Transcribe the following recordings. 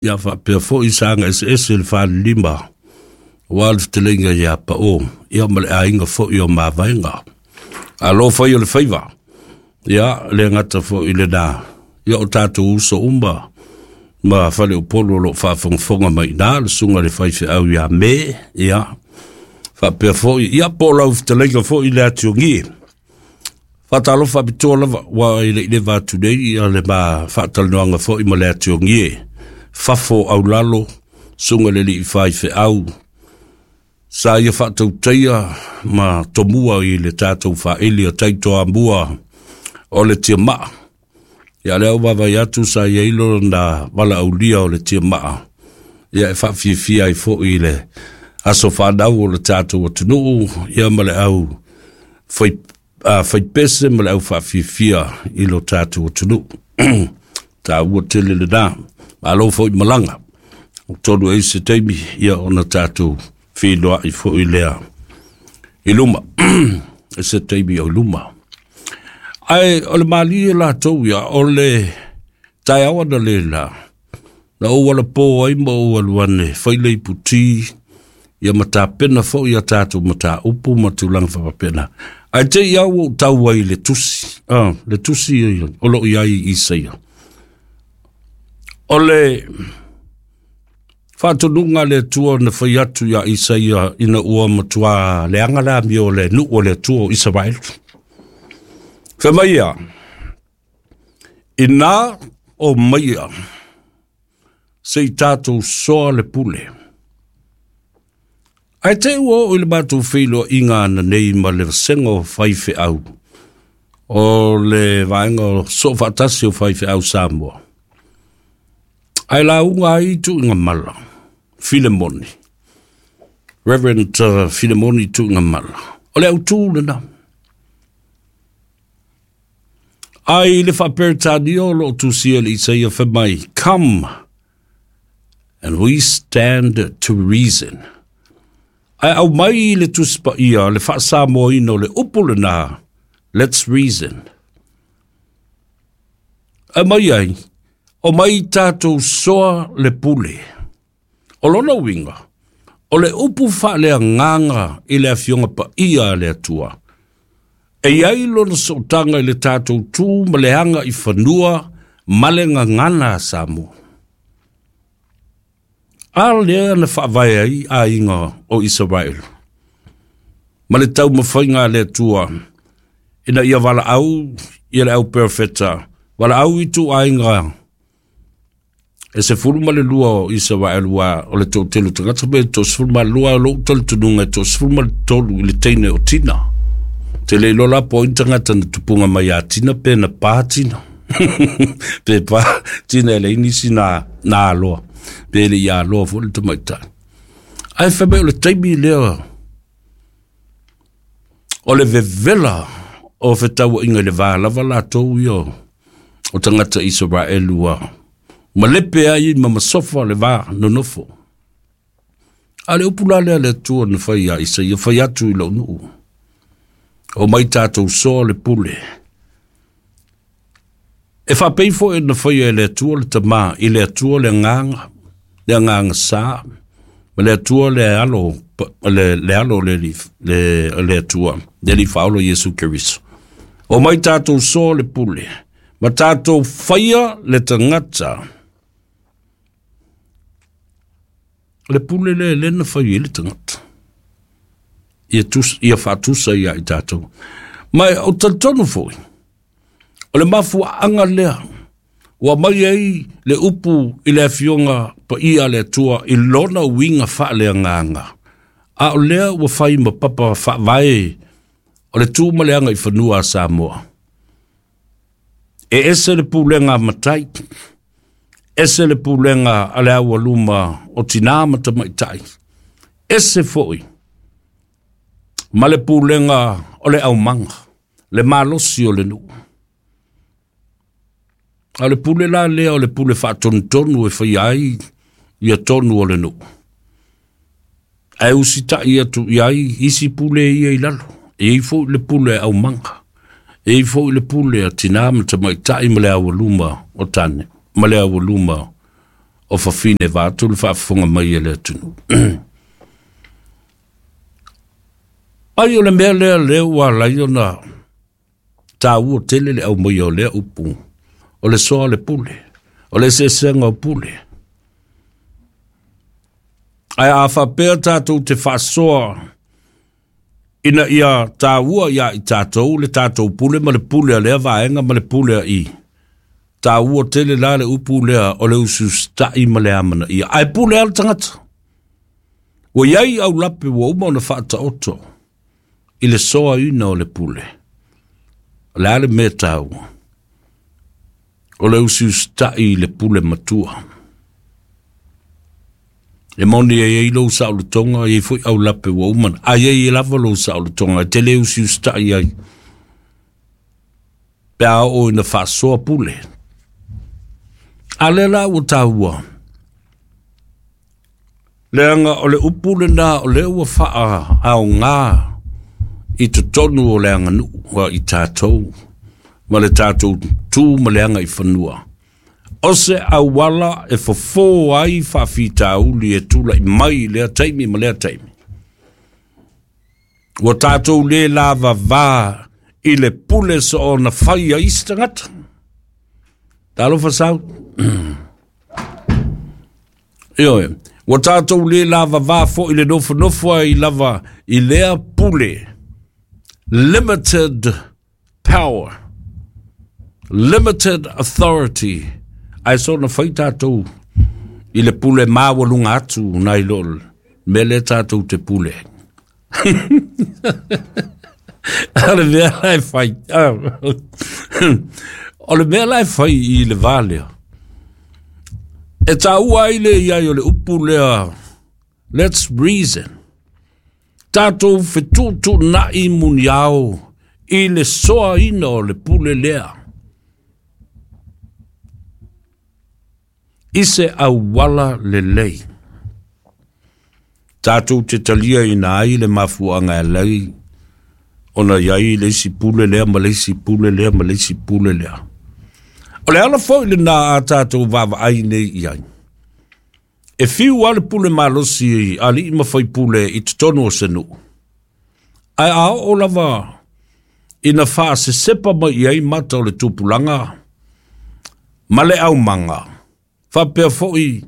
Ia faapea foi saga eseese le falelima aua le fetalaiga ia Pao, ia ma le aiga foi o Mavaega. Alo fai o le faiva, ia le gata foi i lena, ia o tatou uso uma ma faleupolu o lo o faafogafoga mai i ina, le susuga i le faifeau ia Me, ia faapea foi, ia po o lau fetalaiga foi le Atiogie. Faatalofa faapitoa lava, ua i le i leva atu nei ia le ma faatalanoaga foi ma le Atiogie, fafo aulalo, susuga i le alii faifeau, sa ia faatautaia ma tomua i le tatou faaili o Taitoamua o le Tiamaa. Ia lea ua vaavaai atu sa i ai lona valaaulia o le Tiamaa, ia e faafiafia ai foi i le aso fanau o le tatou atunuu, ia ma le au fai, faipese ma le au faafiafia i lo tatou atunuu. Taua tele lena. Malo foi malaga. O tonu e se taimi, ia ona tatou feiloai foi lea i luma. E se taimi o i luma. Ae o le malie latou ia, o le taeao ana le la, na ou alapo ai ma ou alu ane, fai le iputi, ia ma tapena foi a tatou mataupu ma tulaga faapena. Ae te i au ou tau ai le tusi, le tusi o lo o i ai i Isaia. O le faatonuga a le Atua na fai atu iā Isaia ina ua matua leaga le amio o le nuu o le Atua o Isaraelu. Fai mai ia, ina o maia se i tatou soa le pule. Ae te ua oo i le matou feiloaiga ananei ma le vasega o faifeau, o le vaega o Soofaatasi o Faifeau Samoa, ae lauga ai Tuigamala, Filemoni, Reverend Filemoni Tuigamala. O le autū lena. Ai le faaperetania o lo o tusia le Isaia fai mai, come and we stand to reason. Ae aumai le Tusi Paia le faasamoaina o le upu lena, let's reason. Aumai ai, omai tatou soa le pule. O lona uiga, o le upu faaleagaga i le Afioga Paia a le Atua, e i ai lona sootaga i le tatou tu ma le aga i fanua ma le gagana a Samoa. A lea na faavae ai aiga o Isaraelu ma le taumafaiga a le Atua ina ia valaau ia le au perofeta, valaau i ituaiga e 12 o Isaraelu, ua o le toatele o tagata pe 12, o lou talitonuga e 13 i le teine o Tina. Te le iloa la po o ai tagata na tupunga mai a Tina pe na pā Tina. Pe pā Tina e leai nisi na, na aloa. Pe le i aloa foi le tamaitai. Ae fai mai o le taimi lea o le vevela o fetauaiga i le va lava latou ia o tagata Isaraelu ua malepe ai ma masofa le va nonofo. A le upu la lea le Atua na fai ia Isaia, fai atu i lou nuu, o mai tatou soa le pule. E faapei foi na faia e le Atua le Tama, i le Atua le Agaga, le Agaga Sa, ma le Atua le Alo, le Alo le, le, le Atua, le Alii Faaola Iesu Keriso. O mai tatou soa le pule, ma tatou faia le tagata. O le pule lea lea na fai ai le tagata. Ia, tus, ia faatusa ia i tatou. Ma o talitonu foi, o le mafuaaga lea ua mai ai le upu i le Afioga Paia a le Atua i lona uiga faaleagaga, a o lea ua fai ma papa faavae o le tu ma le agaifanua a Samoa. E ese le pulega a matai, ese le pulega a le aualuma o tinā ma tamaitai, ese foi ma le pulega o le aumaga, le malosi o le nuu. A o le pule la lea o le pule faatonutonu e faia ai ia tonu o le nuu. Ae usitai atu i ai isi pule ia i lalo. E i ai foi le pule a aumaga. E i ai foi le pule a tinā ma tamaitai ma le aualuma o tane, ma le aualuma o fafine vaeatu le faafofoga mai a le atunuu. Ai o le mea lea lea ua ala ai ona taua tele le aumaia o lea upu, o le soa o le pule, o le eseesega o pule. Ae a faapea tatou te faasoa ina ia taua ia i tatou le tatou pule ma le pule a lea vaega ma le pule a i, taua tele la le upu lea o le usiusitai ma le amanaia. Ae pule lava le tagata. Ua i ai aulape ua uma ona faataoto i le soaina o le pule. O le a le mea taua? O le usiusitai i le pule matua. E moni e i ai lou saolotoga, e i ai foi aulape ua uma, a i ai lava lou saolotoga, e te le usiusitai ai pe a oo ina faasoa pule. A lea la ua taua, leaga o le upu lena o lea ua faaaoga i totonu o le aganuu a i tatou ma le tatou tu ma le agaifanua. O se auala e fofo ai faafitauli e tulai mai i lea taimi ma lea taimi. Ua tatou le lavava i le pule soona fai a isi tagata. Talofa sau. Ioe, ua tatou le lavava foi le nofonofo ai lava i lea pule. Limited power, limited authority. Ae soona fai tatou i le pule maualuga atu nai lo le mea lea tatou te pule ai. O le mea la e fai, o le mea la e fai i le va lea, e taua ai le i ai o le upu lea, let's reason. Tatou fetuutuunai muniao i le soaina o le pule lea. I se auala lelei. Tatou te taliaina ai le mafuaaga e ala ai ona i ai le isi pule lea ma le isi pule lea ma le isi pule lea. O le ala foi lena a tatou vaavaai nei i ai. E fiu lava le pule malosi a alii ma faipule i totonu o se nuu, ae a oo lava ina faasesepa mai i ai mata o le tupulaga ma le aumaga, faapea foi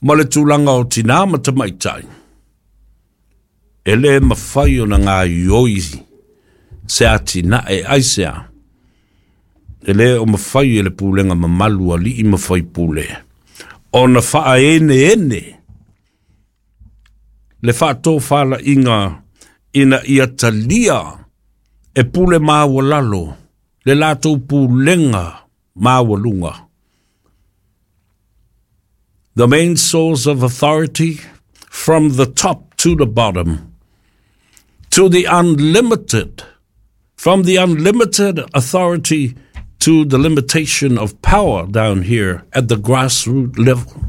ma le tulaga o tinā ma tamaitai, e le mafai ona gaoioi se atinae aisea, e le o mafai e le pulega mamalu a alii ma faipule ona faaeneene le faatofalaiga ina ia talia e pule maualalo le latou pulega maualuga. The main source of authority from the top to the bottom, to the unlimited, from the unlimited authority to the limitation of power down here at the grassroots level.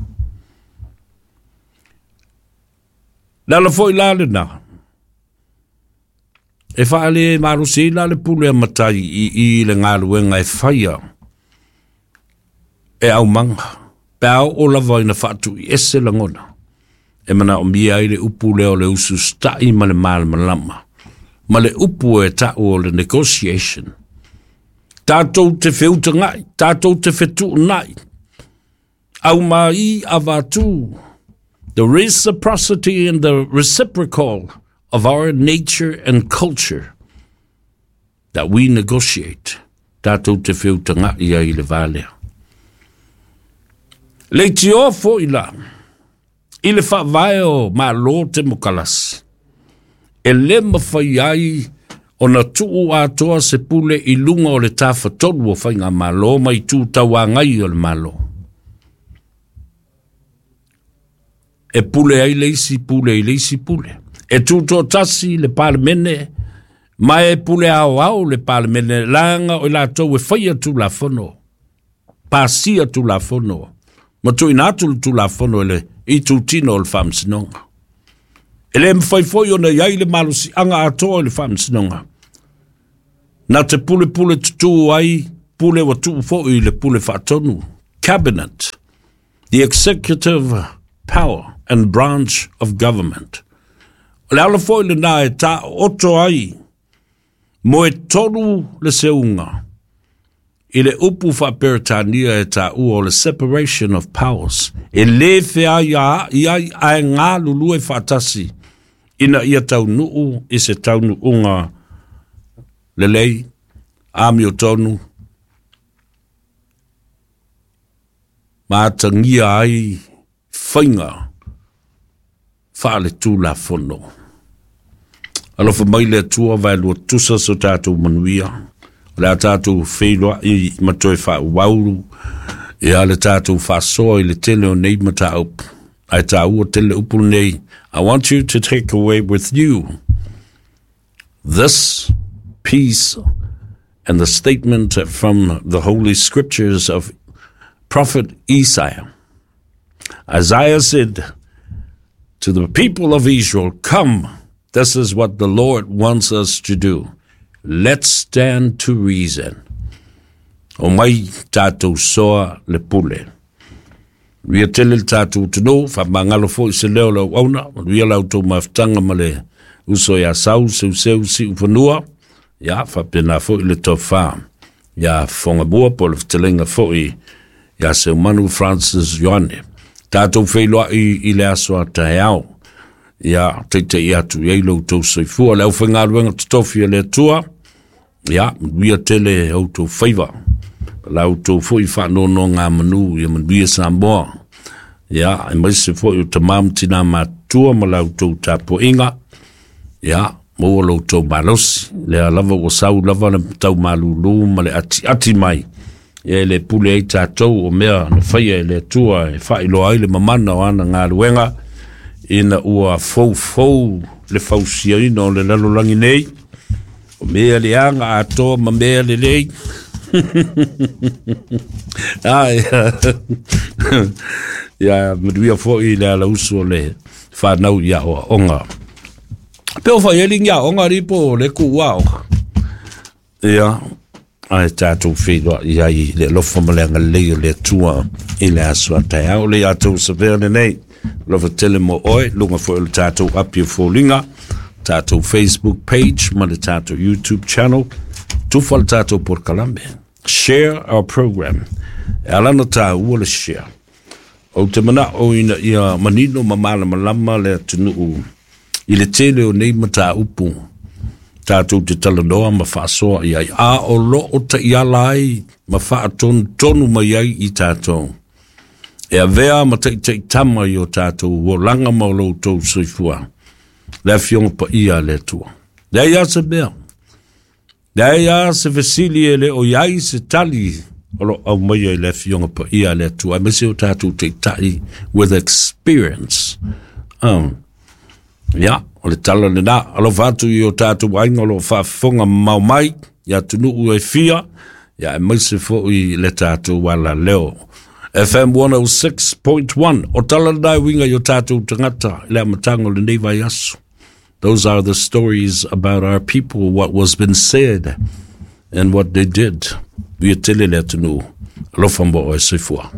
Le ala foi la lena, e faale malosi ai la le pule a matai i i le galuega e faia e aumaga, pe a oo lava ina faatuiese lagona, e manaomia ai le upu lea o le usiusitai ma le malamalama, ma le upu e ta'u o le negotiation. Tatou te feutaga'i, tatou te fetuunai, aumai avatu, the reciprocity and the reciprocal of our nature and culture that we negotiate. Tatou te feutaga'i ai i le va lea. Leitioa foi la, i le faavae o Malo Temokalasi, e le mafai ai ona tuu atoa se pule i luga o le tafatolu o faigamalo ma itu tauagai o le Malo. E pule ai le isi pule i le isi pule. E tutoatasi le Palemene ma e pule aoao le Palemene leaga o i latou e faia Tulafono, pasia Tulafono ma tuuina atu le Tulafono i le itutino o le Faamasinoga. E le mafai foi ona i ai le malosiaga atoa i le Faamasinoga. Na te pulepule tutū ai pule ua tuu foi i le pule faatonu. Cabinet, the executive power and branch of government. O le ala foi lenā e taooto ai moe tonu le seuga i le upu faa-Peretania e taua o le separation of powers, e lē feaiaai ai ae galulue faatasi ina ia taunuu i se taunuuga lelei, amiotonu, ma atagia ai faiga faaletulafono. Alofa mai le Atua vaelua tusa so tatou manuia. O le a tatou feiloai ma toe faaauau ia le tatou faasoa i le tele o nei mataupu. Ae taua tele upu nei. I want you to take away with you this piece and the statement from the Holy Scriptures of Prophet Isaiah. Isaiah said to the people of Israel, "Come, this is what the Lord wants us to do. Let's stand to reason." O mai tatou soa le pule. Manuia tele le tatou atunuu, faamagalo foi se leo o le auauna, manuia la outou mafutaga ma le uso ia Sau, Seuseu, Siufanua, ia faapena foi le tofa ia Fogamua po o le fetalaiga foi ia Seumanu Francis Ioane. Tatou feiloai i le aso a taeao. Ia teitei atu i ai lo outou soifua. Le aufaigaluega totofi a le Atua, ia manuia tele outou faiva. La outou foi faanonogamanu, ia manuia Samoa. Ia, aemaise foi o tamā ma tinā matutua ma la outou tapuaiga. Ia, maua lo outou malosi. Lea lava ua sau lava le tau malūlū ma le atiati mai. Ia e le pule ai tatou o mea na faia e le Atua e faailoa ai le mamana o ana galuega ina ua foufou le fausiaina o le lalolagi nei. O mea leaga atoa ma mea lelei. Ai, ia manuia foi le alausu o le whanau i aoaoga. Pe o whai eli ngia onga ripo o le ku aoga. Ia, ae tatou feiloai ai i le alofa ma le agalelei o le Atua i le aso a taeao. Le atou savea lenei, alofa tele mo oe, luga foi o le tatou api o foliga, tatou Facebook page ma le tatou YouTube channel, tufa le tatou polokalame. Share our program. E ala ona taua le share. Ou te manao ina ia manino ma malamalama le atunuu i le tele o nei mataupu tatou te talanoa ma faasoa i ai, a o loo taiala ai ma faatonutonu mai ai i tatou. E avea ma taitaitama i o tatou olaga ma o lo outou soifua, le Afioga Paia a le Atua. Leai lava se mea, leai lava se fesili e le o i ai se tali o lo o aumaia i le Afioga Paia a le Atua, aemaise o tatou taitai with experience. Ia, o le tala lenā. Alofa atu i o tatou aiga o lo o faafofoga mamao mai i atunuu e fia, ia aemaise foi le tatou alaleo. FM 106.1, o tala lenā e uiga i o tatou tagata i le amataga o lenei vaiaso. Those are the stories about our people, what was been said and what they did. Ia tele le atunuu. Alofa mo oe soifua.